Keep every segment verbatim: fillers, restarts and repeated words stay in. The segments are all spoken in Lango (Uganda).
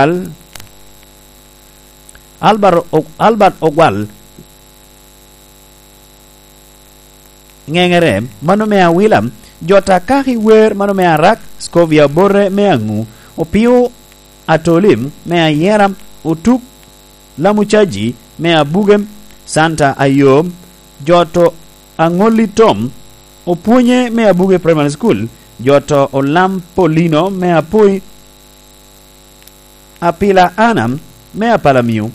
Al-, Albert O-, Albert Ogwal, Ŋeŋere, mano me Awila, Jota Kaki Wer, mano me Arak, Scovia Bote me Aŋu, Opio Atoli me Ayera, Otuk Lamucaji me Abuge, Santa Ayom, Joto Aŋolli Tom, Opwonye me Abuge Primary School, Joto Olam Polino me Apoi, Apila Anna me Apalamio,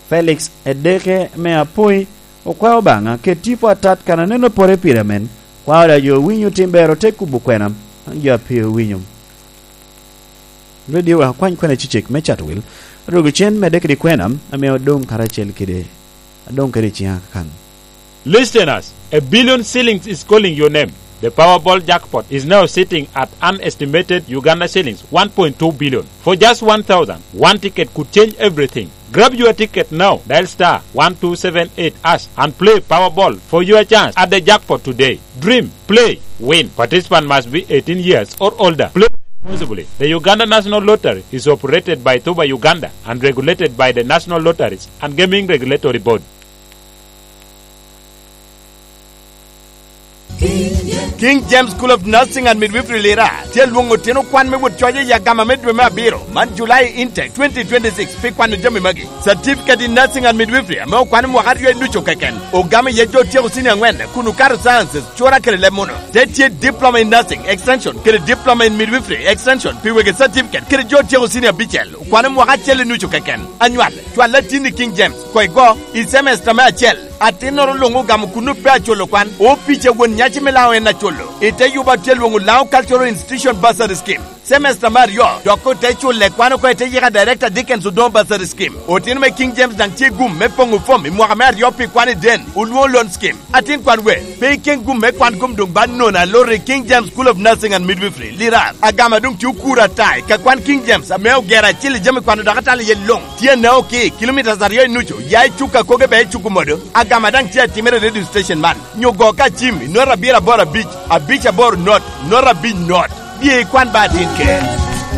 Felix Edeke me Apoi, okwao Obaŋa, ket tipo atat kan aneno pore pire amen, kwao da jo winyo tim ber ote kubo kwena, an jo a pe owinyo. Radio wa kwany kwena cicek me Chatwil, rogo cen medde kede kwena, ame odoŋ karacel kede, adoŋ kede ciŋa kan. Listeners, a billion shillings is calling your name. The Powerball jackpot is now sitting at an estimated Uganda shillings one point two billion. For just one thousand, one ticket could change everything. Grab your ticket now. Dial star one two seven eight hash and play Powerball for your chance at the jackpot today. Dream, play, win. Participant must be eighteen years or older. Play responsibly. The Uganda National Lottery is operated by Tuba Uganda and regulated by the National Lotteries and Gaming Regulatory Board. King James School of Nursing and Midwifery Lira tye alwoŋo otino kwan me wot coc i agama me dwe me abiro man, July intake twenty twenty-six, pi kwano jami magi. Certificate in Nursing and Midwifery ame okwane mwaka aryo i nucu keken, ogamo iye jo otyeko senior angwen kun okato sciences, cura kede leb muno. Te tye Diploma in Nursing Extension kede Diploma in Midwifery Extension pi wegi certificate kede jo otyeko senior abicel, okwane mwaka acel i nucu keken. Anywal, cwal atin i King James, koigo, i semester me acel. Atinnoro luŋ ogamo kun ope aculo kwan. Opic a won nyaci me Laŋo en aculo. I te yuba tye lwoŋo Laŋo Cultural Institution Bursary Scheme. Semester me aryo, dok ote culle kwan oko i te yika Director Dickens Odongo Bursary Scheme. Otino me King James daŋ tye gum me poŋo fom i mwaka me aryo pi kwan i den, olwoŋo loan scheme. Atin kwan we, pe iken gum me kwan gum doŋ ba nono aloro i King James School of Nursing and Midwifery, Lirar. Agama doŋ tye okuro ata i ka kwan King James ame ogero acil i jami kwano dok atalo iye luŋ. Tye anao ki kilomitas aryo i nucu, ya i cuk a koge bea i cuk omodo. Agama daŋ tye atimere i radio station man. Nyo go ka cim i nota abiro aboro abic, abic aboro not, nota abic not. Bye ikwan ba atin ker.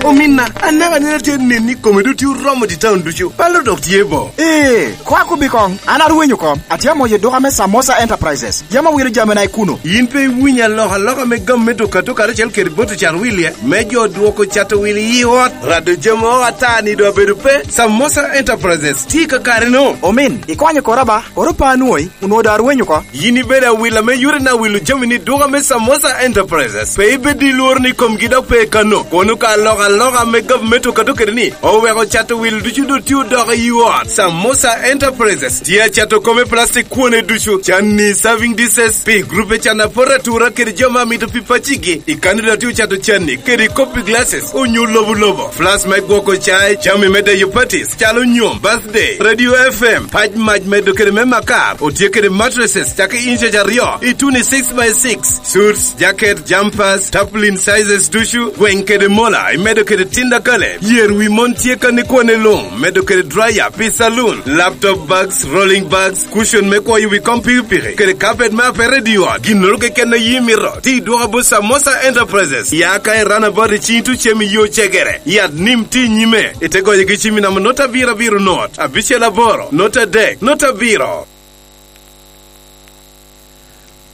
Ominna, anaka neno atye nen ni kome doŋ tye oromo i taun ducu. Palo dok tye bo. Ee, kwa kobi koŋ, an arwenyo oko. Atye amoyo duka me Samosa Enterprises. Yam awilo jamina i kuno. Yin pe iwinyo alokaloka me gam me duka to karacel kede bot ocat wilie, me jo dwoko cato wil i ot, rado jami o ata ni doŋ abedo pe? Samosa Enterprises tye i kakare-nu. Omin, ikwanyo kora ba, koro pe anwoŋi, onwoŋo doŋ arwenyo oko. Yin ibedo awila me yore na wilo jami ni duka me Samosa Enterprises. Pe ibed i lworo ni komgi dok pe kano. Kono ka alokaloka me gavumenti okato kede ni, oweko cato wil ducu doŋ tye odoko i ot. Samosa Enterprises tye acato kome plastic kwone ducu, canni, serving dishes, pi grupe can apot atura kede jo ma mito pi pacigi. I kani doŋ tye ocato canni kede kopi glasses, onyo lobo lobo, flask me gwoko cai, jami me deyo parties, calo nyom, birthday, radio F M, pac mac medo kede me makar, otye kede mattresses, cakki inches aryo, i tuni six by six, suits, jacket, jumpers, tarpaulin sizes ducu, gweng kede mola, imedo kede tinda kale, yer wi mon tye kan ikwane luŋ, medo kede dryer pi saloon, laptop bags, rolling bags, cushion me kwoyo wi kom pikipiki, kede carpet me apere i ot, ginnoro keken a yi mito, ti dwoka bot Samosa Enterprises, ya ka i runabout i cing tucem i yo cegere, yat nim ti nyime, ite goyo gi cim i namba not abiro abiro not, abicel aboro, not adek, not abiro.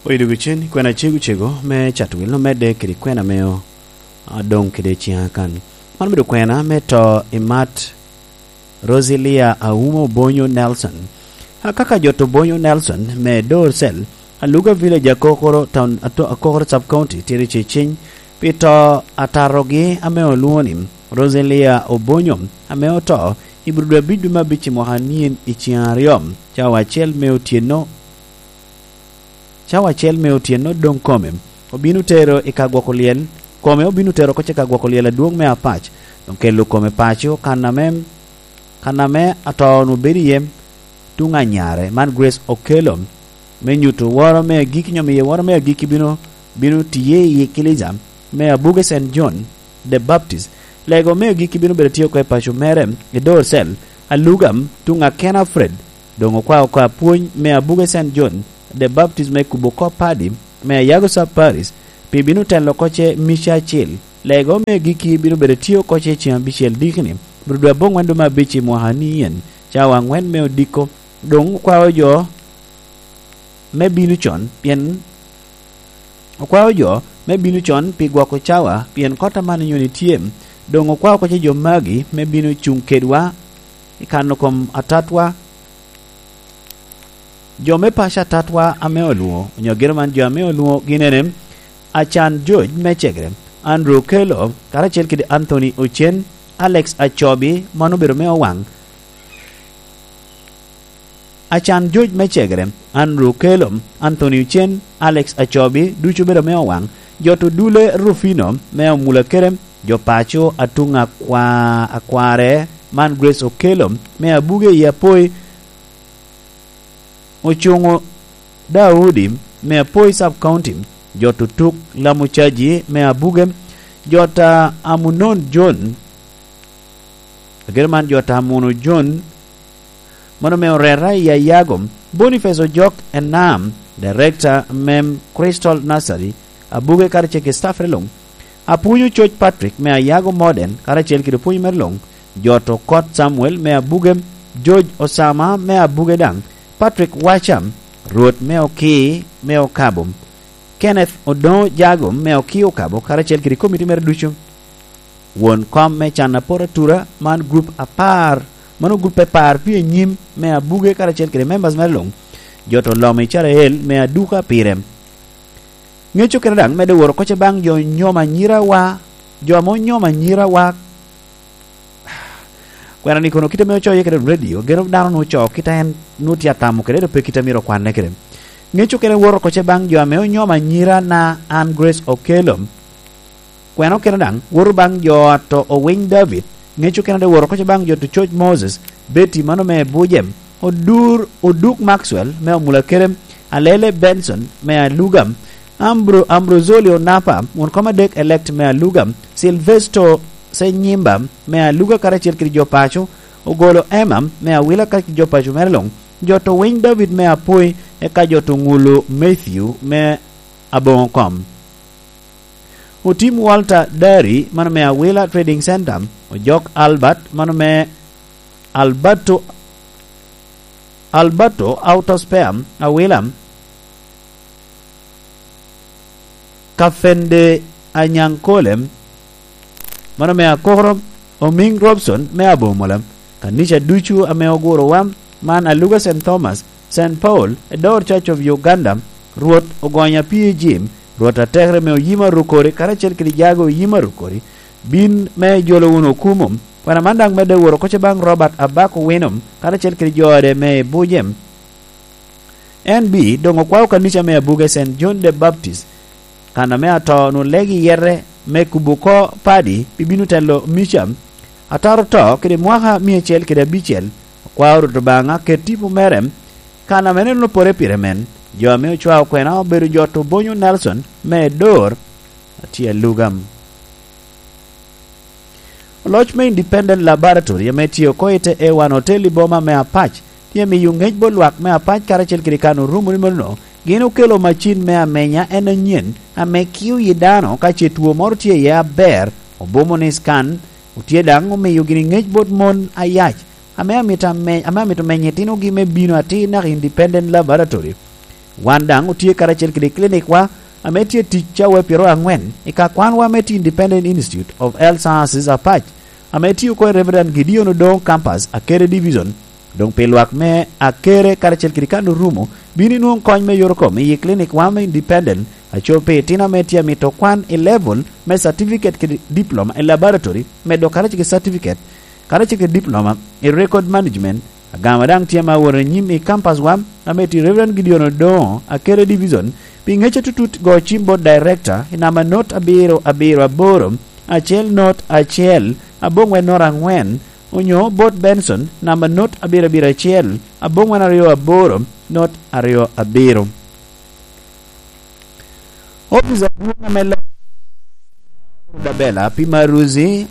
Oido gi cen, kwena cego cego me Chatwil omedde kede kwena meo, a, doŋ kede ciŋa kan. Man obedo kwena me to i mat Rosilia Auma Obonyo Nelson. A, kaka jot Obonyo Nelson me Dor Cell, Aluga Village, Akokoro Town, ato-, Akokoro Sub County, tye riceceny pi to atatogi ame olwoŋo ni Rosilia Obonyo, ame oto i bur dwe abic dwe me abic i mwaka anyen i ciŋ aryo, cawa acel me otyeno. Cawa acel me otyeno doŋ kome obino tero i ka gwoko lyel, kome obino tero oko i ka gwoko lyel adwoŋ me Apac, doŋ kelo kome paco kan ame, kan ame ato-nu bedo iye tuŋ anyare, man Grace Okello, me nyuto woro me agikki, nyo miyo woro me agikki bino, bino tiye i Eklezia me Abuge Saint John the Baptist. Lego me agikki bino bedo tye oko i paco mere, i Dor Cell, Aluga, tuŋ Akena Fred, doŋ okwao oko apwony me Abuge Saint John the Baptist me kubo kop padi me Ayago Sub Parish, pi bino telo oko ce mica acil Lego me agikki bino bedo tye oko ce ceŋ abicel dikini, rudwe aboŋwen dwe me abic i mwaka ni en, cawa aŋwen me odiko. Doŋ okwao jo me bino con, pien okwao jo me bino con pi gwoko cawa, pien kot aman nyoni tye. Doŋ okwao oko ce jo magi me bino cuŋ kedwa i kano kom atatwa. Jo me paco atatwa ame olwoŋo, onyo gin man jo ame olwoŋo gin ene: Acan George me Cegere, Andrew Okello, karacel kede Anthony Ocen, Alex Acobi, mano obedo me Owaŋ. Acan George me Cegere, Andrew Okello, Anthony Ocen, Alex Acobi, ducu obedo me Owaŋ. Jo to Dule Rufino me Omulakere, jo paco Atuŋ Akwa-, Akware, man Grace Okello me Abuge i Apoi, Ocuŋo Daudi me Apoi Sub County, jo to Tuk Lamucaji me Abuge, jo ta Amunon John, ageno man jo ta Amuno John, mano me Orera i Ayago, Boniface Ojok Enam, Director me Crystal Nursery, Abuge karacel kede staff luŋ. Apwony Ococ Patrick me Ayago Modern, karacel kede pwony mere luŋ. Jo to Kot Samuel me Abuge, George Osama me Abuge daŋ, Patrick Wacha, Rwot me Okii me Okabo, Kenneth Odoŋo Jago me Okii Okabo, karacel kede komiti mere ducu. Won kom me can apor atura, man gurup apar, mano gurup apar pye nyim me Abuge karacel kede members mere luŋ. Jo to Lomo Icrael me Aduka pire. Ŋeco kene daŋ medde woro oko ce baŋ jo onyomo anyirawa, jo ame onyomo anyirawa. Kwena ni kono kite ame ocoo iye kede radio, gero dano nwoŋo ocoo kite a en nwoŋo tye atamo kede, ento pe kite a myero okwanne kede. Ŋeco kene woro oko ce baŋ jo ame onyomo anyira na an Grace Okello. Kwena okene daŋ woto baŋ jo ato Owiny David, ŋeco okene daŋ woto oko ce baŋ jo to Coc Moses, Betty mano me Bujem, Odur, Oduk Maxwell me Omulakere, Alele Benson me Aluga, Ambro-, Ambrozoli Onapa, won kom adek elect me Aluga, Silvesto Senyimba me Aluga karacel kede jo paco, Ogolo Emma me Awila karacel kede jo paco mere luŋ, jo to Winy David me Apoi, eka jo to Ŋulu Matthew me Aboŋo Kom. Otim Walter Dari, mano me Awila Trading Center, Ojok Albert, mano me Alberto, Alberto Auto Spare, Awila, Kafende Anyaŋ Kolem, mano me Akoro, Omiŋ Robson me Abomola, kanica ducu ame ogurowa, man Aluga Saint Thomas, Saint Paul, Edor Church of Uganda, Rwot ogonya pii jim, Rwot atekere me Oyima Rukori, karacel kede jago Oyima Rukori, bin me jolo wunu okumo. Kwena man daŋ medde woro oko ce baŋ Robert Abak Owino, karacel kede jo ode me Bujem. En bi doŋ okwao kanica me Abuge Saint John the Baptist, kan ame ato onwoŋo legi yete me kubo oko padi pi bino telo Micam, ataro to kede mwaka mia acel kede abicel, okwao Rwot Obaŋa ket tipo mere, kan ame en opore pire men. Jo ame ocwao kwena obedo jo to Bonyo Nelson me Dor, atye Aluga. Oloc me Independent Laboratory ame tye oko i te Ewan Hotel i boma me Apac tye miyo ŋec bot lwak me Apac karacel kede kan orumo ni mano gin okelo macin me amenya en anyen ame kio yi dano ka ce two moro tye iye aber, obumo ni scan, otye daŋ omiyo gini ŋec bot mon ayac ame amito ame-, ame amito menyo itinogi me bino atir naka Independent Laboratory. Wan daŋ otye karacel kede clinic wa ame tye tic cawa pyero aŋwen i ka kwanwa me tye Independent Institute of Health Sciences Apac, ame tye oko i Reverend Gideon Odongo Campus, Akere Division. Doŋ pi lwak me Akere karacel kede kan orumo, bino inwoŋo kony me yore kom i clinic wa me Independent, aco pi itino ame tye amito kwan i level me certificate kede diploma i laboratory, medo karacel kede certificate, karacel kede diploma i record management. Agama daŋ tye ma awot anyim i campus wa, ame tye Reverend Gideon Odongo, Akere Division, pi ŋec atutut go cim bot director i namba not abiro abiro aboro, acel not acel, aboŋwen not aŋwen, onyo bot Benson, namba not abiro abiro acel, aboŋwen aryo aboro, not aryo abiro. Opic adwoŋ ame leb Rudabela pi Maruzi,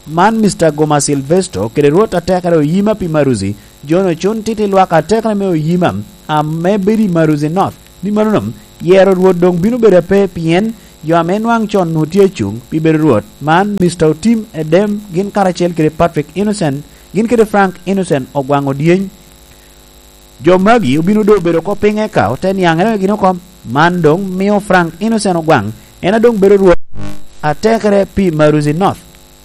man Mister Goma Silvesto, kede Rwot atekere Oyima pi Maruzi, John Ocun Titi lwak atekere me Oyima, ame bedo i Maruzi North. Ni mano no, yero Rwot doŋ bino bedo ape, pien jo ame nwaŋ con onwoŋo tye acuŋ pi bedo Rwot. Man, Mister Otim Edem gin karacel kede Patrick Innocent, gin kede Frank Innocent Ogwaŋ Odyeny. Jo magi obino doŋ obedo oko piny eka ote niaŋere gin oko. Man doŋ mio Frank Innocent Ogwaŋ en a doŋ bedo Rwot atekere pi Maruzi North.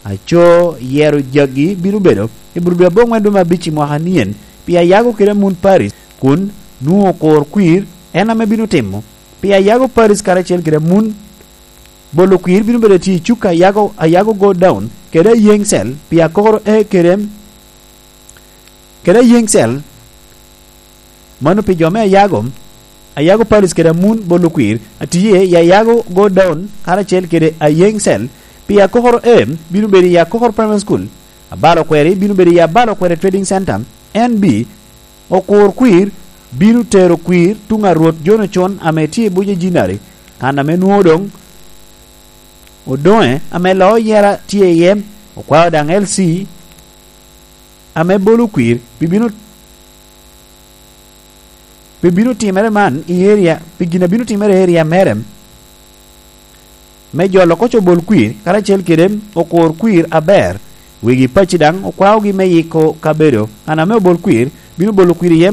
Aco yero jagi bino bedo i Burudu aboŋwen dwe me abic i mwaka nien pi Ayago kede Amun Paris, kun nwoŋo Okor Kwir en ame bino timo pi Ayago Paris karacel kede Amun. Bolo Kwir bino bedo tye i cuk Ayago, Ayago Go Down kede Ayeŋ Cell pi Akokoro A kede, kede Ayeŋ Cell. Mano pi jo me Ayago, Ayago Paris kede Amun Bolo Kwir, a tye i Ayago Go Down karacel kede Ayeŋ Cell pi Akokoro A bino bedo i Akokoro Primary School. Abalo Kweri bino bedo i Abalo Kweri Trading Center, N B. Okor Kwir bino tero kwir tuŋ a Rwot Jono Con ame tye i Buc Ejinari, kan ame nwoŋo doŋ odoŋe ame loo yera tye iye. Okwao daŋ L C ame Bolo Kwir pi bino, pi bino timere man i eria, pi gin a bino timere i eria mere, me jolo oko co Bol Kwir karacel kede Okor Kwir aber. Wegi pacci daŋ okwaogi me yiko kabedo kan ame Obol Kwir bino bolo kwir iye.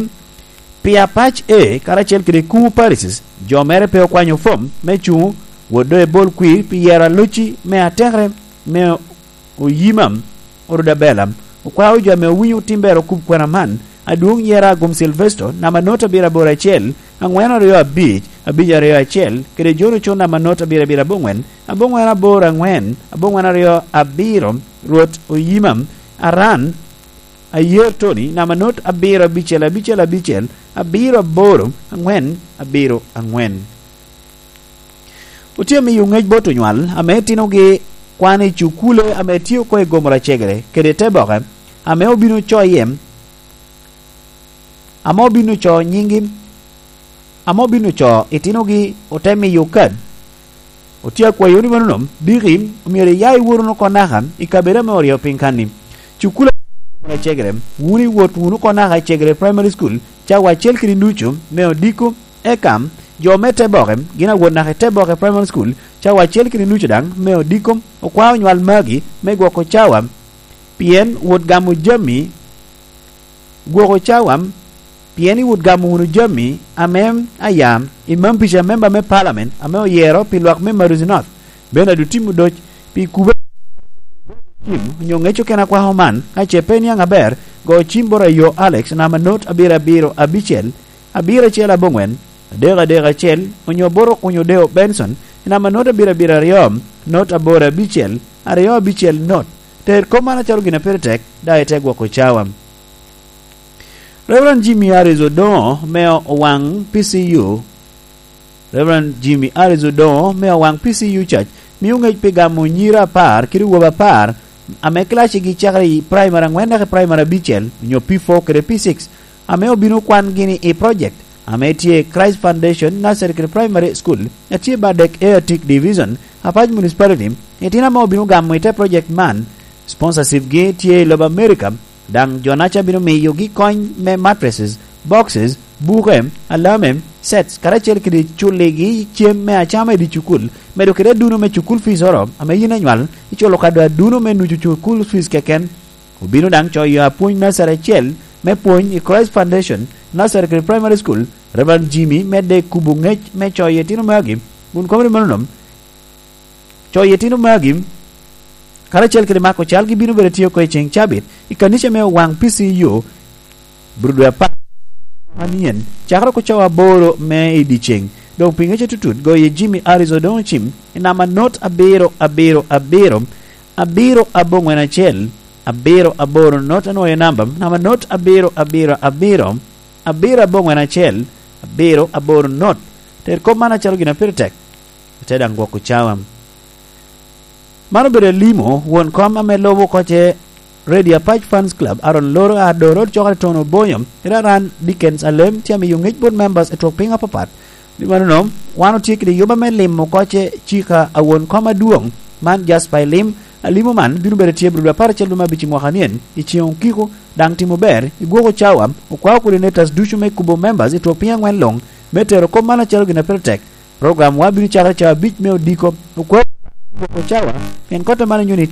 Pi Apac A karacel kede Kumu Parishes, jo mere pe okwanyo fom me cuŋo wot doŋ ebol kwir pi yero alocci me atekere me Oyimam, Orudabela. Okwao jo ame owinyo tim ber okub kwena man, adwoŋ yera Agum Silvesto, namba not abiro aboro acel, aŋwen aryo abic, abic aryo acel, kede Jono Con, namba not abiro abiro aboŋwen, aboŋwen aboro aŋwen, aboŋwen aryo abiro, Rwot Oyimam, Aran, Ayer Tony, namba not abiro abicel, abicel abicel, abiro aboro, aŋwen abiro aŋwen. Otye miyo ŋec bot onywal ame itinogi kwan i cukule ame tye oko i gomoro acegere kede te boke, ame obino coye, ame obino co nyiŋgi, ame obino co itinogi, ote miyo kad. Otye akwayo ni mano nom, diki omyero iya iwot wunu oko naka i kabedo ame oryo piny kanni. Cukule ame gomoro acegere, wun iwot wunu oko naka i Cegere Primary School, cawa acel kede nucu me odiko. Eka, jo me te boke gin awot naka i te boke Primary School, cawa acel kede nucu daŋ me odiko. Okwao onywal magi me gwoko cawa, pien wot gamo jami gwoko cawa, pien iwot gamo wunu jami ame aya i mam pica memba me palamen ame oyero pi lwak me Maruzi North, Bernard Otim Odoc, pi kube onyo ŋec okene akwako man, ka ce pe niaŋ aber, go cim bot ayo Alex, namba not abiro abiro abicel, abiro acel aboŋwen, adek adek acel, onyo bot Okunyo Deo Benson, i namba not abiro abiro aryo, not aboro abicel, aryo abicel not. Ter kop man acalo gin a pire tek, daŋ ite gwoko cawa. Reverend Jimmy Harris Odongo me Owaŋ P C U. Reverend Jimmy Harris Odongo me Owaŋ P C U Church mio ŋec pi gamo nyira apar kede wobe apar ame kilacigi cakere i primary aŋwen naka i primary abicel, onyo P four kede P six, ame obino kwan gini i project ame tye Christ Foundation Nursery kede Primary School, a tye Badek A Atik Division, Apac Municipality. Itino ame obino gamo i te project man, sponsorship gi tye i lobo America, daŋ jo-naca bino miyogi kony me mattresses, boxes, buke, alame, sets, karacel kede culligi cem me acama i dye cukul, medo kede aduno me cukul fees oro, ame yin anywal iculo kado aduno me nucu cukul fees keken. Obino daŋ coyo apwony nursery acel me pwony i Christ Foundation Nursery kede Primary School, Reverend Jimmy medde kubo ŋec me coyo itino magi, kun komri mano nom, coyo itino magi, karacel kede mako calgi bino bedo tye oko i ceŋ cabit i kanica me Owaŋ P C U, Burudwe apar anien, cakere oko cawa aboro me i dyeceŋ. Doŋ pi ŋec atutut, goye Jimmy Harris Odongo Cim i namba not abiro abiro abiro, abiro aboŋwen acel, abiro aboro not, anwoŋo namba, namba not abiro abiro abiro, abiro aboŋwen acel, abiro aboro not. Ter kop man acalo gin a pire tek, ite daŋ gwoko cawa. Man obedo Elimo, won kom ame lubo oko ce Radio Apac Fans Club, Aaron Loro, Ado Road, Cokere Town Obonyo, Iraran Dickens Alem, tye amiyo ŋec bot members i twok piny apapat. Pi mano, wan otye kede yoba me limo oko ce cika a won kom adwoŋ man, Jasper Elim. Alimo man bino bedo tye Abril apar acel dwe me abic i mwaka nien, i ceŋ okiko, daŋ timo ber, i gwoko cawa, okwao coordinators ducu me kubo members i twok piny aŋwen luŋ, me tero kop man acalo gin a pire tek. Program wa bino cakere cawa abic me odiko. Okwa, okwa cawa, pien kota man onyo ni